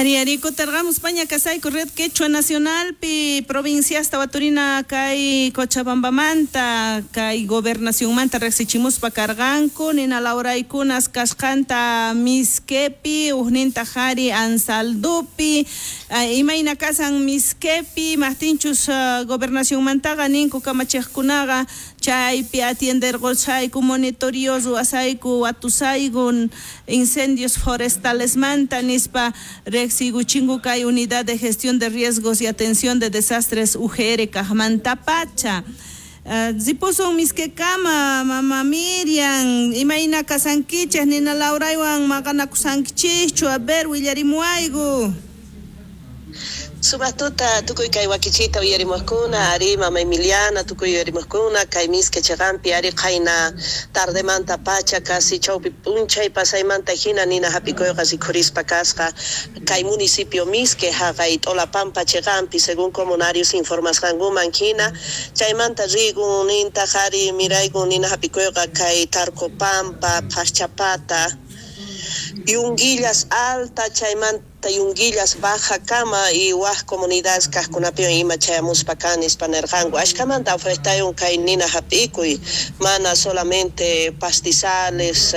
Ari ari kutarqamuspaña kasayku Red Quechua Nacionalpi provinciasta waturina kay Cochabambamanta kay gobernacionmanta riqsichimuspa karqanku nina lawraykunas kasqanta Misquepi ujninta qhari Ansaldupi imayna kasan Misquepi maqtinchus gobernacionmantaqa ninku kamachiqkunaqa chaypi atienderqusayku monitoreo ruwasayku watusayku incendios forestalesmanta nispa riqsiykuchinku kay Unidad de Gestión de Riesgos y Atención de Desastres UGR kaqmantapacha. Ripusun Misquekama, mama Miriam, imayna kasankichej nina lawraywan maqanakusankichikchu, a ver willarimuwayku. Sumaq tuta tukuy kay wakichita uyarimuqkuna, ari mama Emiliana tukuy uyarimuqkuna, kay Misque chiqanpi ari qayna tardemanta pacha casi chawpi p'unchay pasaymanta hina nina hap'ikuyqa rikhurispa kasqa kay municipio Misque haqay T'olapampa chiqanpi según comunarios informasqankuman hina chaymanta rigun nintaq ari miraygun nina hap'ikuyqa kay Tarcopampa, Phaqchapata, Yunguillas Alta chaymanta Yunguillas Baja kama y waj comunidades kaqkunapiwan ima chayamuspa kan nispa nirqanku ashkamanta afectayun kay nina hap'ikuy mana solamente pastizales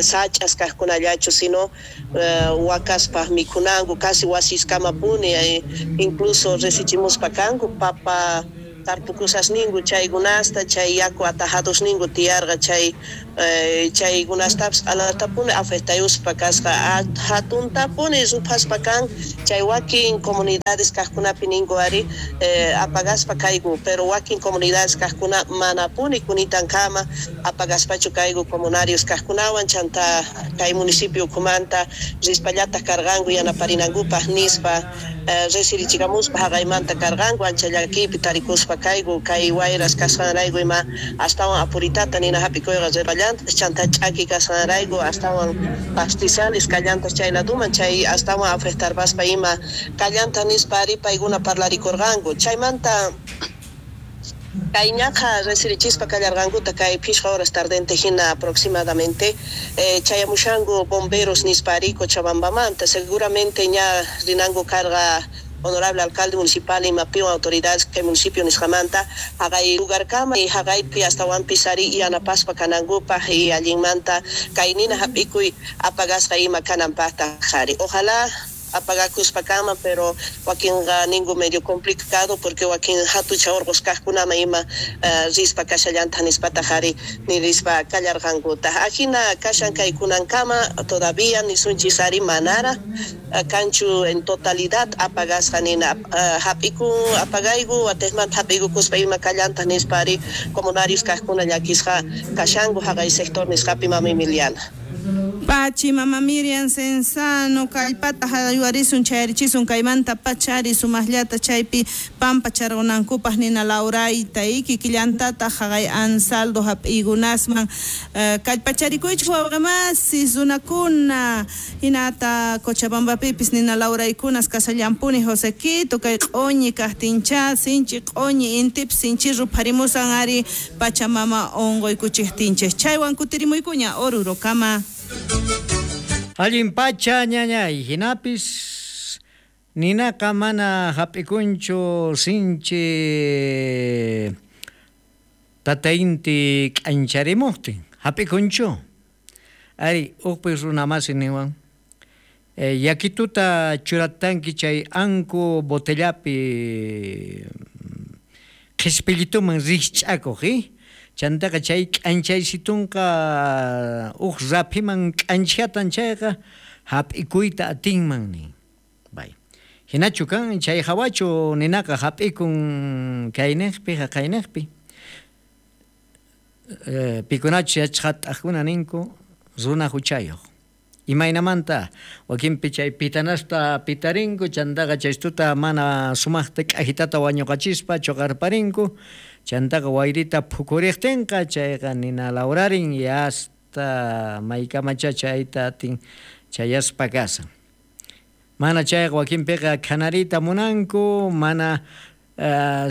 sach'as kaqkunallachu sino wakaspaq mikhunanku casi wasiskamapuni incluso risichimuspa kanku papa tarpukusasninku chaykunasta chay yaku atajadosninku tiyarqa chay chaykunastapis q'alatapuni afectayuspa kasqa hatuntapuni ruphaspa kan chay wakin comunidades kaqkunapi ninku ari apagaspa kayku pero wakin comunidades kaqkuna manapuni kunitankama apagaspachu kayku comunarios kaqkunawan chanta kay municipio ukhumanta rispallataq karqanku yanaparinankupaq nispa resirichikamuspa haqaymanta karqanku ancha llakiypi tarikuspa kayku kay wayras kasqanrayku ima astawan apuritata nina hap'ikuyqa rirqallantas chanta ch'aki kasqanrayku astawan pastizales kallantas chay laduman chay astawan afectarpaspa ima kallanta nispa ari paykuna parlarikurqanku chaymanta kay ñaqa resirichispa kallarqankuta kay phishqa horas tardente hina aproximadamente chayamushanku bomberos nispa ari Cochabambamanta seguramente ña rinanku karqa honorable alcalde municipal imapiwan autoridades kay municipio nisqamanta haqay lugarkama y haqaypi astawanpis ari yanapaspa kanankupaq y allinmanta kay nina hap'ikuy apagasqa ima kananpaqtaq ari ojalá apagakuspa kanman pero wakinqa ninku medio complicado porque wakin hatucha urqus kaqkunaman ima rispa kashallantaq nispataq ari nirispa kallarqankutaq ajina kashan kaykunankama todavía nisunchis ari manara kanchu en totalidad apagasqa nina hap'ikun apagayku watejmanta hap'ikukuspa ima kallantaq nispa ari comunarios kaqkuna llakisqa kashanku haqay sector nisqapi mama Emiliana. Pachi, mama Miriam Cenzano, kallpata hayuarisun chayarichisun kaymanta pachari sumaqllata chaypi pampa charqunankupaq nina lawrayta kikillantata haqay Ansaldo hap'iykunasman kallpacharikuychik wawqimasi runakuna hinata Cochabambapipis nina lawraykunas kasallampuni Josequito kay q'uñi kaqtincha sinchi q'uñi intipis sinchi rupharimusan ari Pachamama unquykuchiqtinchik chaywan kutirimuykuña Orurokama. Allin pacha ñañay hinapis ninaqa mana hap'ikunchu sinchi tatainti k'ancharimuqtin hap'ikunchu ari uqpi runamasi niwan yakituta churatanki chay anku botellapi qhispillituman rikch'akuq chantaqa chay k'anchaysitunqa uq raphiman k'anchatan chayqa hap'ikuyta atinman nin bay hinachu kan chay hawachu ninaqa hap'ikun kayniqpi haqayniqpi pikunachu yachqat'aqkuna ninku runa huchayuq imaynamanta wakinpi chay pitanasta pitarinku chantaqa chaystuta mana sumaqta k'ajitata wañuqachispa chuqarparinku chantaqa wayrita phukuriqtinqa chayqa nina lawrarin y hasta maykamacha chayta atin chayaspa kasan mana chayqa wakinpiqa khanarita munanku mana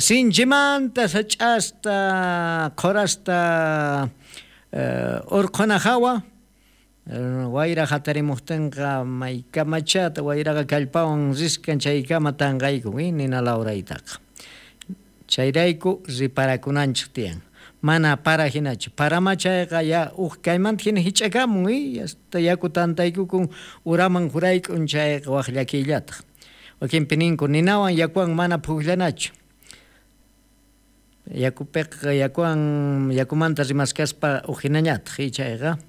sinchimanta sach'asta qhurasta urqhuna hawa Wayra hatarimuqtinqa maykamachata wayraqa kallpawan riskan chaykama tanqaykun nina lawraytaqa. Chayrayku riparakunanchik tiyan. Mana para hinachu. Parama chayqa ya uj kaymanta hina hich'akamun hasta yaku tantaykukun uraman hurayk'un chayqa waj llakiyllataq. Wakinpi ninku ninawan yakuwan mana pukllanachu. Yakupiqa yakuwan yakumanta rimaskaspa uj hinañataq chayqa.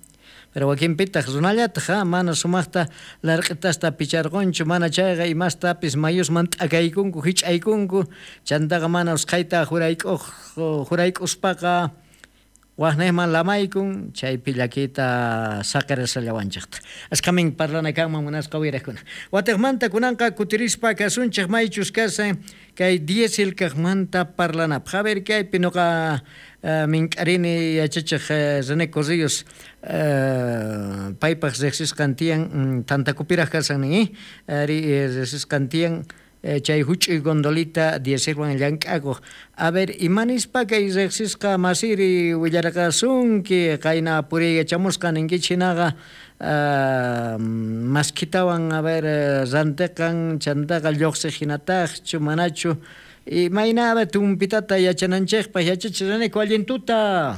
Pero wakinpitaq runallataq mana sumaqta larq'itasta picharqunchu, mana chayqa imastapis mayusman t'akaykunku hich'aykunku, chantaqa mana usqhayta hurayk'uspaqa waqniqman lamaykun, chaypi llakiyta saqirashallawanchikta. Ashkamin parlana kanman munasqa uyariqkuna. Watiqmanta kunanqa kutirispa kasunchik maychus kasan kay diesel kaqmanta parlanapaq. A ver kaypi nuqa mink'arini yachachiq René Corrillos paypaq riqsisqan tiyan tantakupiraq kasan nin, ari riqsisqan tiyan chay huch'uy gondolita dieselwan llank'akuq. A ver, imanispa kay riqsisqa masiri willarqasunki qayna puriykachamusqa ninkichik hinaqa maskhitawan a ver rantiqan chantaqa lluqsiq hinataqchu manachu imayna a ver tumpitata yachananchikpaq yachachiq René allin tuta.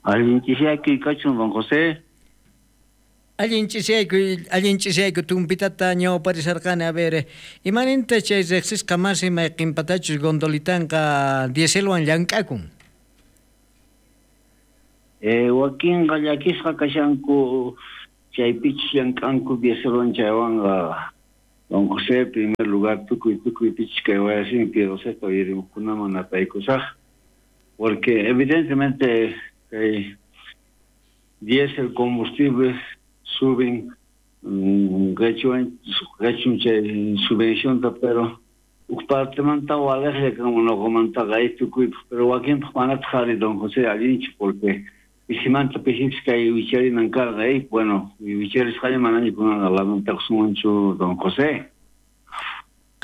Allin ch'isiyaykuy kachun don José. Allin ch'isiyayku tumpitata ñawparisharqani. A ver, imaninta chay riqsisqa masi mayqinpatachus gondolitanqa dieselwan llank'akun? Wakinqa llakisqa kashanku chaypichus llank'anku dieselwan chaywanqa. Don José, primer lugar, tukuy pichus kay wayasimi Piedoseta uyarimuqkunaman napaykusaq. Porque evidentemente kay diésel combustible suben qechun chay subvencionta, pero uj partemanta walejlla kanman nuqamantaqa tukuypaq, pero wakinpaq manataq ari don José allinchu, porque pisimanta pisipis kay wicharinan karqa, bueno, wicharisqaña manaña kunanqa lamentakusunmanchu don José.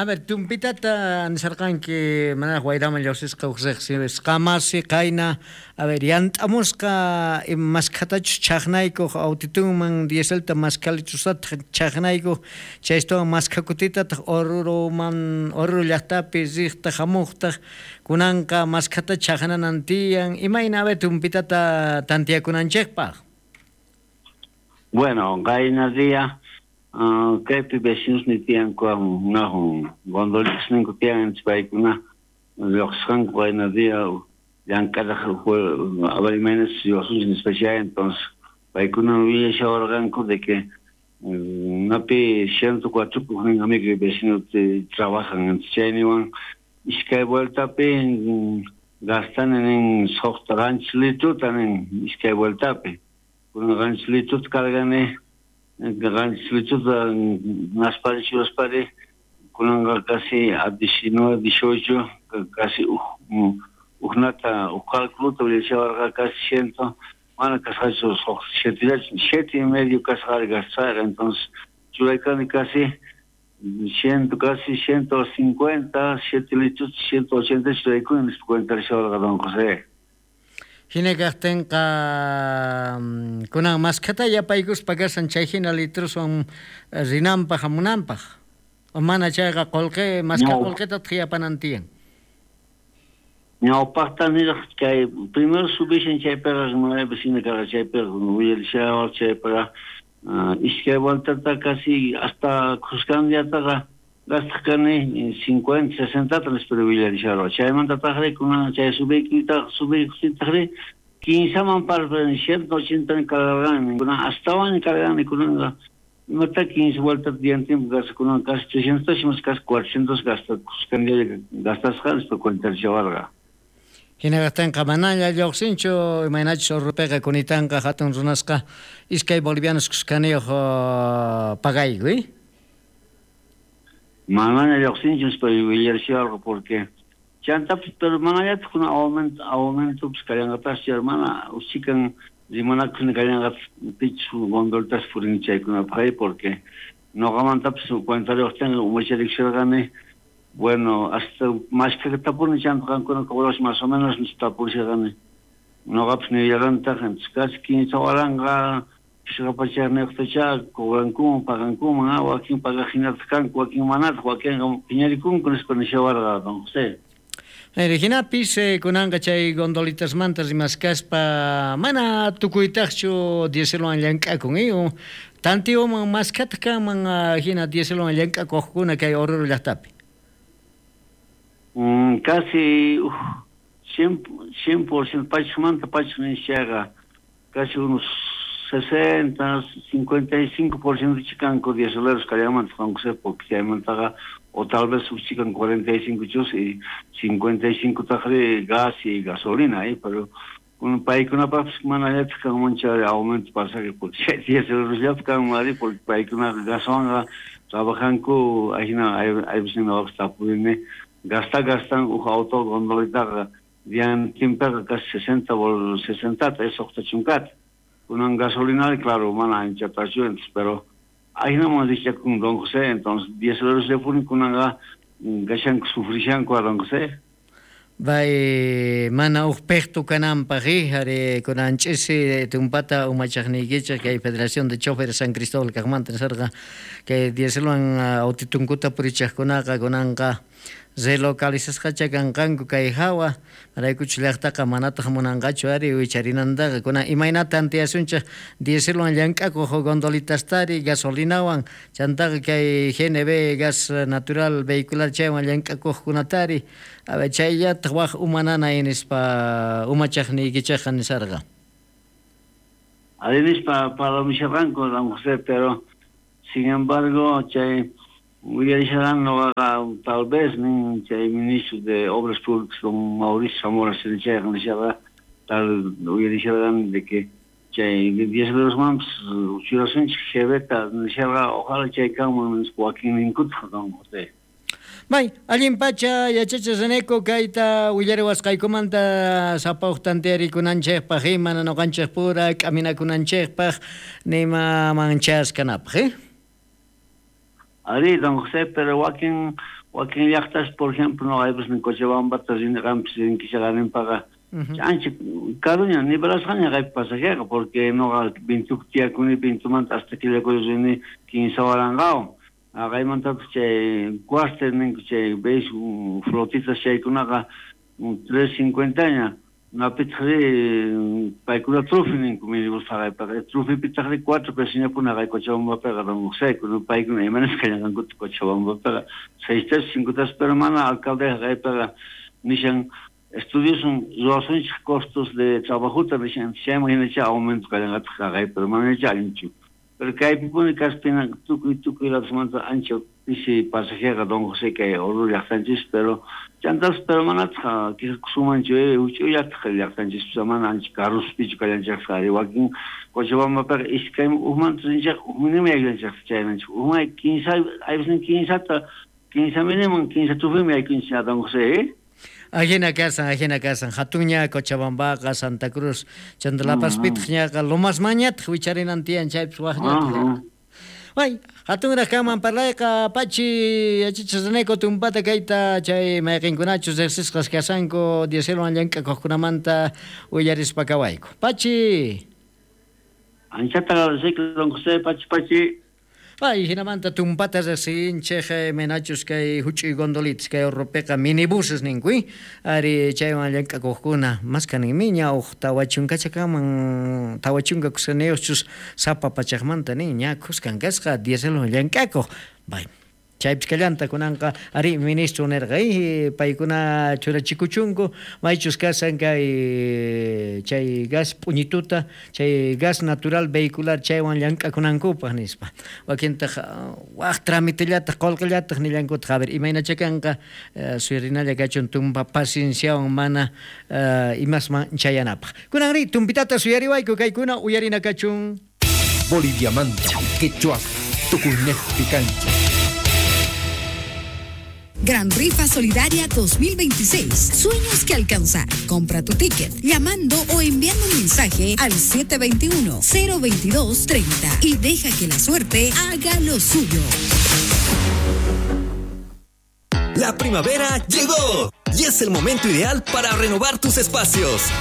A ver, tumpitata nisarqanki manaraq wayraman lluqsisqa uj riqsisqa masi qayna, a ver, yant'amusqa maskhatachus chaqnaykuq autitunman dieselta maskhalichusataq chaqnaykuq chaytawan maskhakutitataq Oruroman Oruro llaqtapi riqtaq hamuqtaq kunanqa maskhata chaqnanan tiyan. Imayna a ver tumpitata tantiyakunanchikpaq? Bueno, qayna día kaypi vecinos ni tiyanku unajun gondolitas ninku tiyan paykuna lluqsisqanku qayna día llank'araq a ver imaynas lluqsinchik nispa chay, entonces paykuna willashawarqanku de que napi 104 ujnin amigo y vecino trabajan, chayniwan iskay vueltapi gastani nin suqta qanchis litruta nin iskay vueltapi kunan qanchis litruta cargani qanchis litruta naspari churaspari kunanqa casi a 19, 18 casi ujnata uj cálculo willashawarqa casi 100 mana kasqachu 7.5 kasqari gastasqa, entonces churaykani casi 100, casi 150, 7 litros, 180 churaykuni nispa cuenta don José. Hina kaqtinqa kunan maskhata yapaykuspa kasan chay hina litroswan rinanpaq hamunanpaq. O mana chayqa qullqi maskha qullqitataq yapanan tiyan. Ñawpaqta niraq kay primero subishan chaypiqa nueve vecino karqa chaypiqa willarishawaq chaypiqa iskay vueltata casi hasta khuskan diataqa gastaq kani 50, 60 nispa willarisharqa. Chaymantataqri kunan chay subiykutaqri 15man parpani 180 cargarqani kunan astawan cargani kunanqa imata 15 vueltas diantin gasta kunan casi 300 más casi 400 gasta khuskan día gastasqa nispa cuentashawarqa. Hinaqtinqa manaña lluqsinchu imaynachus Oruropiqa kunitanqa hatun runasqa iskay bolivianos khuskaniyuq pagayku, Manaña lluqsinchu nispa willarishawarqa porque chantapis pero manallataq kuna aumentopis kallanqataschu mana uchikan rimanakuq kallanqatas pichus gondolitas purin chaykunapaq porque nuqamantapis cuentariyuqtinqa umacharikshirqani. Bueno, hasta más que tapurni chanta qankuna cobrash más o menos tapurisharqani. Noqapis nillarqantaq casi 15,000 phishqa pachaqniyuqtacha cobrankuman pagankuman, wakin pagaq hinataq kanku, wakin manataq, wakinqa phiñarikunku nispa nishawarqa don José. Hinapis kunanqa chay gondolitasmanta rimaskaspa mana tukuytaqchu dieselwan llank'akun, tantiyuman maskhataq kanman hina dieselwan llank'akuqkuna kay Oruro llaqtapi. Casi 100% pachmanta pach nishaqa casi unos 60, 55% chikanku dieseleros kallamanta Juan José, porque chaymantaqa o tal vez chikan 45 chus y 55 taqri gas y gasolina, pero paykunapaqpis mana allataq kanman chay aumento pasaje porque chay dieseleros kanman ari porque paykunaqa gaswanqa trabajanku ahina aypis noqapis tapurini gastan uj auto gondolitaqa diantinpiqa casi 60 60 chunkata. Kunan gasolina, claro, mana anchatachu, pero ahinaman richakun don José, entonces dieseleros llapuni kunanqa gashanku sufrishanku a don José. Bay mana uj pejtu kananpaq ari kunan ch'isi tumpata umachaqniykichik kay Federación de Choferes San Cristóbal kaqmanta nisarqa kay dieselwan autitunkuta purichaqkunaqa kunanqa relocalizasqacha kanqanku kay hawa maraykuchu llaqtaqa manataq munanqachu ari wicharinantaqa kunan imaynata tantiyasunchik dieselwan llank'akuq gondolitastari gasolinawan chantaqa kay GNB gas natural vehicular chaywan llank'akuqkunatari chayllataq waq umananay nispa umachaqniykichikqa nisarqa. Ari nispa parlamisharqanku don José, pero sin embargo chay uyarisharán noqaqa tal vez nin chay ministro de Obras Públicas don Mauricio Zamora chayqa nishaqa tal uyarisharán de que chay dieselerosmanpis churasunchik GBta nishaqa ojalá chay kanman nispa wakinninkutaq don José. May, allin pacha yachachi Reneco kayta willariwasqaykumanta sapa uj tantiyarikunanchikpaq mana noqanchikpura k'aminakunanchikpaq nimaman chaskanapaq, Ari, don José, pero wakin llaqtas, por ejemplo, no hay pues en Cochabamba, rinqanpis rinkishaqaninpaqa ancha karuña nivelasqaña kaypi pasajeqa, porque noqa Pintupi tiyakuni, Pintumanta hasta Quillacollo rini 15,000wan. Kaymantataq chay cuartel ninku chay veis flotitas chaykunaqa 3.50ña. Napitaqri paykuna trufi ninku minibus haqaypaqa trufipitaqri 4 pesoñapuni haqay Cochabambapiqa don José, paykuna imanasqa llanqankuta Cochabambapiqa 6 pesos 5 pesos, pero mana alcalde haqaypiqa nishan estudiosun ruwasunchik costos de trabajota nishan chayman hinacha aumento kallanqataq haqay, pero mana allinchu. Pero kaypipuni kaspina tukuy ladosmanta ancha pisi pasajeqa don José kay Oruro llaqtanchis, pero chantas pero manataq quejakusunmanchu huch'uyllataq llaqtanchis mana ancha karuspichu kallanchikqa ari wakin Cochabambapiqa iskay ujmanta rinchikqa ujminimi aykunchikqa chaynanchik ujman 15 aypis 15 miniman 15 trufimi aykunchik don José. Ajina kasan, hatunña Cochabambaqa, Santa Cruz, chanta La Pazpitaq ñaqa Lomasmañataq wicharinan tiyan chaypis waqñataq. Ay, hatunraq kanman parlayqa pachi yachachiq Reneco tumpata kayta chay mayqinkunachus riqsisqas kasanku dieselwan llank'akuqkunamanta willarispa kawayku. Pachi. Anchata agradeceko don José, pachi. Ay, hinamanta tumpata riqsinchik menachus kay huch'uy gondolitas kay Orropiqa minibuses ninku, ari chaywan llank'akuqkuna maskaninmi ña uj 40 kaman 40 kuskaniyuqchus sapa pachaqmanta nin ña kuskan kasqa dieselwan llank'akuq. Bay. Chaypis kallanta kunanqa ari ministro nirqa paykuna churachikuchunku maychus kasan kay chay gas p'uñituta chay gas natural vehicular chaywan llank'akunankupaq nispa wakintaq waq tramitillataq qullqillataq nillankutaq a ver imaynacha kanqa suyarinalla kachun tumpa pacienciawan mana imasman chayanapaq. Kunanri tumpitata suyariwayku kaykuna uyarina kachun. Boliviamanta quechua tukuynejpi kancha. Gran Rifa Solidaria 2026. Sueños que alcanzar. Compra tu ticket llamando o enviando un mensaje al 721-022-30 y deja que la suerte haga lo suyo. La primavera llegó y es el momento ideal para renovar tus espacios.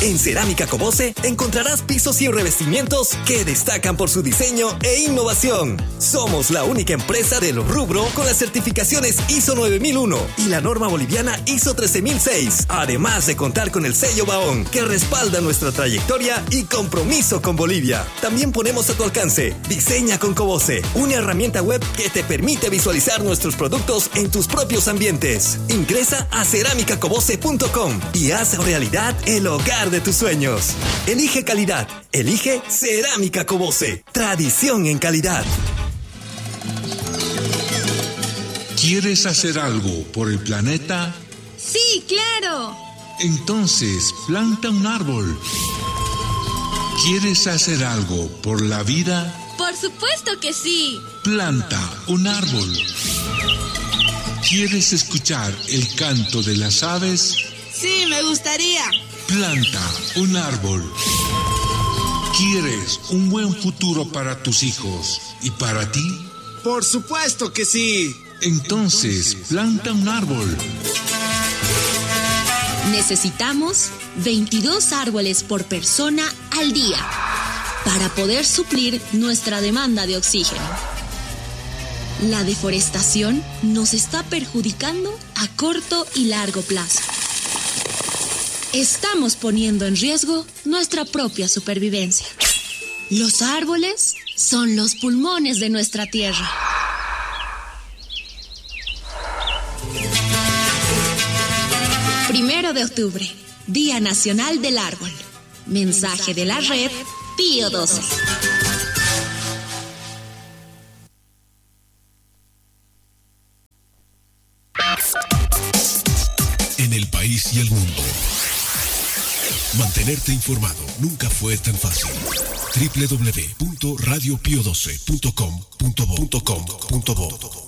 En Cerámica Cobose encontrarás pisos y revestimientos que destacan por su diseño e innovación. Somos la única empresa del rubro con las certificaciones ISO 9001 y la norma boliviana ISO 13006, además de contar con el sello Baón, que respalda nuestra trayectoria y compromiso con Bolivia. También ponemos a tu alcance Diseña con Cobose, una herramienta web que te permite visualizar nuestros productos en tus propios ambientes. Ingresa a ceramicacobose.com y haz realidad el hogar de tus sueños. Elige calidad. Elige Cerámica Cobose. Tradición en calidad. ¿Quieres hacer algo por el planeta? Sí, claro. Entonces, planta un árbol. ¿Quieres hacer algo por la vida? Por supuesto que sí. Planta un árbol. ¿Quieres escuchar el canto de las aves? Sí, me gustaría. Planta un árbol. ¿Quieres un buen futuro para tus hijos y para ti? Por supuesto que sí. Entonces, planta un árbol. Necesitamos 22 árboles por persona al día para poder suplir nuestra demanda de oxígeno. La deforestación nos está perjudicando a corto y largo plazo. Estamos poniendo en riesgo nuestra propia supervivencia. Los árboles son los pulmones de nuestra tierra. Primero de octubre, Día Nacional del Árbol. Mensaje de la red Pío 12. En el país y el mundo. Mantenerte informado nunca fue tan fácil. www.radiopio12.com.bo.com.bo.